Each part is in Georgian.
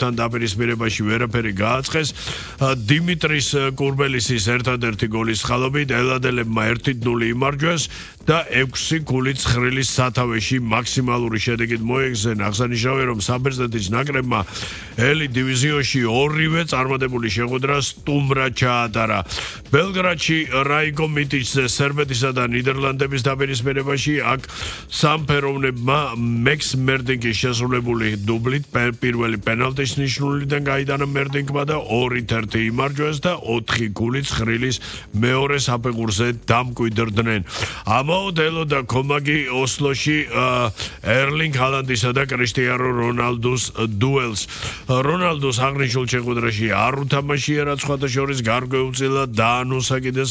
თან დაპირისპირებაში ვერაფერი გააწყეს. დიმიტრის კურბელისის ერთადერთი გოლის ხალობით ელადელებმა 1-0 იმარჯვეს და 6 გოლით ცხრილის სათავეში მაქსიმალური შედეგით მოეგზენ. აღსანიშნავია, რომ საბერძნეთის ნაკრებმა ელი დივიზიონში ორივე წარმატებული შეხვედრა სტუმრად ჩაატარა. ბელგრადში რაიკო მიტიჩზე სერბეთისა და ნიდერლანდების დაპირისპირებაში აქ სამფეროვნებმა მექს მერდინკის შესრულებული დუბლით პირველი პენალტის ნიშნულიდან გაიტანა მერდინკმა და 2-1 იმარჯვეს და 4 გოლით ცხრილის მეორე საფეხურზე დამკვიდრდნენ. ამაოდელო და კომაგი ოსლოში ერლინგ ჰალანდისა და კრისტიანო რონალდუს დუელს. რონალდუს აღნიშნულ შეხვედრაში არ უთამაშია, რაც სხვათა შორის გარკვეულწილად დაანონსა კიდეს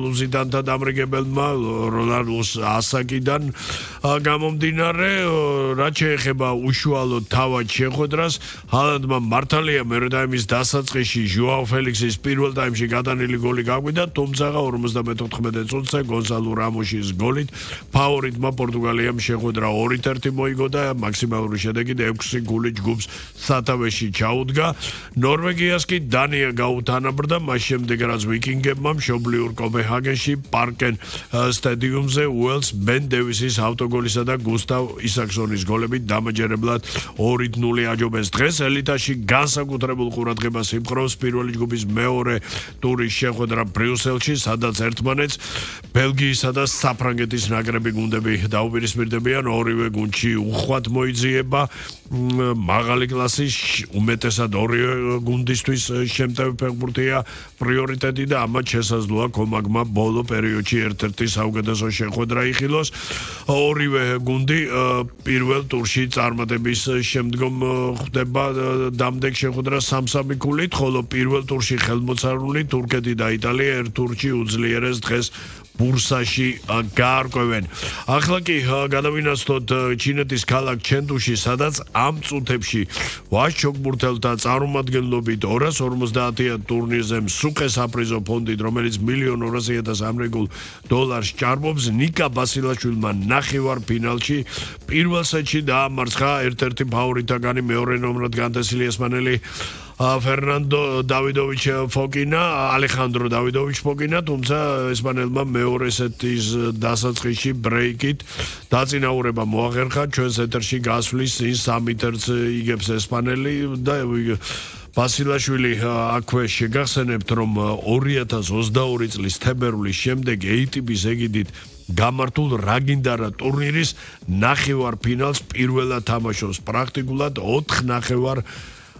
ლუზიდანთა დამრიგებელმა რონალდუს ასაკიდან გამომდინარე, რაც შეეხება უშუალოდ თავად შეხვედრას, ჰალანდმა მართალია მეორე ტაიმის დასაწყისში ჟოაო ფელიქსის პირველ ტაიმში გადანილი გოლი გაგვიდა, თუმცა 54 წუთზე გონსალო რამოსის გოლით ფავორიტმა პორტუგალიამ შეხვედრა 2-1 მოიგო და მაქსიმალური შედეგით 6 გოლით ჯგუფს სათავეში ჩაუდგა. ნორვეგიას კი დანია გაუთანაბრდა, მას შემდეგ რაც ვიკინგებმა მშობლიურ კოპენჰაგენში პარკენ სტადიუმზე უელს ბენ დევისის ავტოგოლისა და გუსტავ ისაქსონის გოლებით დამაჯერებლად 2-0 აჯობეს. დღეს ელიტაში განსაკუთრებულ ყურადღებას იპყრობს პირველი ჯგუფის მეორე ტურის შეხვედრა ბრიუსელში, სადაც ერთმანეთს ბელგიისა და საფრანგეთის ნაკრები გუნდები დაუპირისპირდებიან. ორივე გუნდში უხვად მოიძიება მაღალი კლასის, უმეტესად ორივე გუნდისთვის შემტევი ფეხბურთია პრიორიტეტი და ამათ შესაძლოა კომაგმა ბოლო პერიოდში ერთ-ერთი საუკეთესო შეხვედრა იხილოს. ორივე გუნდი პირველ ტურში წარმატების შემდგომ ხდება დამდეგ შეხვედრა 3-3 ქულით, ხოლო პირველ ტურში ხელმოცარული თურქეთი და იტალია ერთ ტურში უძლიერეს დღეს ბურსაში გაარკვევენ. ახლა კი გადავინაცვლოთ ჩინეთის ქალაქ ჩენდუში, სადაც ამ წუთებში ვაჟჩოგბურთელთა წარმომადგენლობით 250 ტურნირზე მსუქე საპრიზო ფონდით, რომელიც $1,200,000 ამერიკულ დოლარს ჭარბობს, ნიკა ბასილაშვილმა ნახევარფინალში პირველ სეტში დაამარცხა ერთ-ერთი ფავორიტაგანი მეორე ნომრად განთესილი ესპანელი ფერნანდო დავიდოვიჩ ფოკინა, ალეხანდრო დავიდოვიჩ ფოკინა, თუმცა ესპანელმა მეორე სეტის დასაწყისში ბრეიკით დაწინაურება მოახერხა. ჩვენს ეთერში გასვლის 3 ტერც იგებს ესპანელი და ბასილაშვილი აქვე შეგახსენებთ, რომ 2022 წლის თებერვლის შემდეგ ATP-ის ეგიდით გამართულ რაგინდარა ტურნირის ნახევარფინალს პირველად თამაშობს. პრაქტიკულად 4 ნახევარ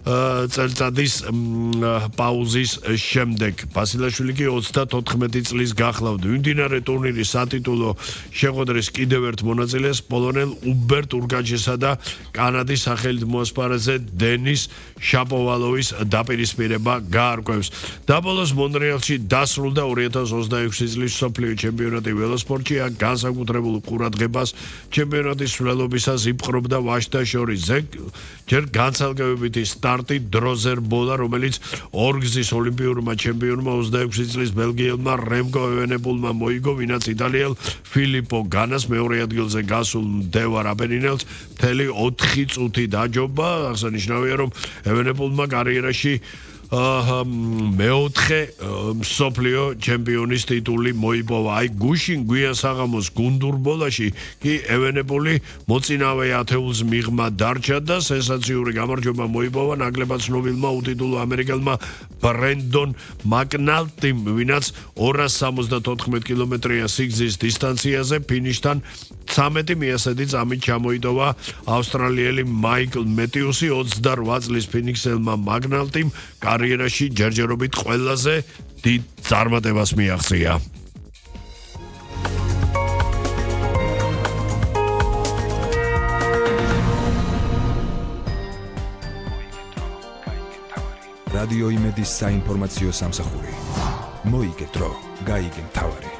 წელწადის პაუზის შემდეგ. ბასილაშვილი კი 34 წლის გახლავთ. მიმდინარე ტურნირის სატიტულო შეხვედრის კიდევ ერთ მონაწილეს პოლონელ უბერტ ურგაჩესა და კანადის სახელით მოასპარეზე დენის შაპოვალოვის დაპირისპირება გაარკვევს. და ბოლოს მონრეალში დასრულდა 2026 წლის მსოფლიო ჩემპიონატი ველოსპორტში. აქ განსაკუთრებულ ყურადღებას ჩემპიონატის სვლელობისას იპყრობდა ვაჟთა შორის ჯერ განცალკევებითი სტარტი დროზერ ბოლა, რომელიც ორგზის ოლიმპიურმა ჩემპიონმა 26 წლის ბელგიელმა რემკო ევენეპულმა მოიგო, ვინაც იტალიელ ფილიპო განას მეორე ადგილზე გასულ მდევარ აპენინელს მთელი 4 წუთი დაჯობა. აღსანიშნავია, რომ ევენეპულმა კარიერაში მეოთხე მსოფლიო ჩემპიონის ტიტული მოიპოვა. აი გუშინ გვიან საღამოს გუნდურ ბოლაში კი ევენეპული მოწინავე ათეულს მიღმა დარჩა და სენსაციური გამარჯვება მოიპოვა ნაკლებად ცნობილმა უტიტულო ამერიკელმა ბრენდონ მაკნალტიმ, ვინაც 274 კილომეტრია სიგრძის დისტანციაზე ფინიშთან 13 მიასედი წამით ჩამოიტოვა ავსტრალიელი მაიკლ მეტიუსი. 28 წლის ფინიქსელმა მაკნალტიმ კარიერაში ჯერჯერობით ყველაზე დიდ წარმატებას მიაღწია. რადიო იმედის საინფორმაციო სამსახური. მოიგე დრო, გაიგე მთავარი.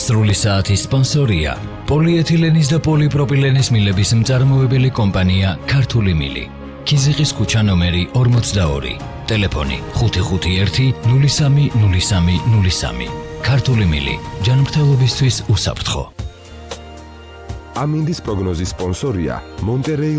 სრული საათის სპონსორია პოლიეთილენის და პოლიპროპილენის მილების მწარმოებელი კომპანია ქართული მილი. ქიზიყის ქუჩა ნომერი 42, ტელეფონი 551 03 03 03. ქართული მილი, ჯანმრთელობისთვის უსაფრთხო. ამინდის პროგნოზის სპონსორია მონტერეი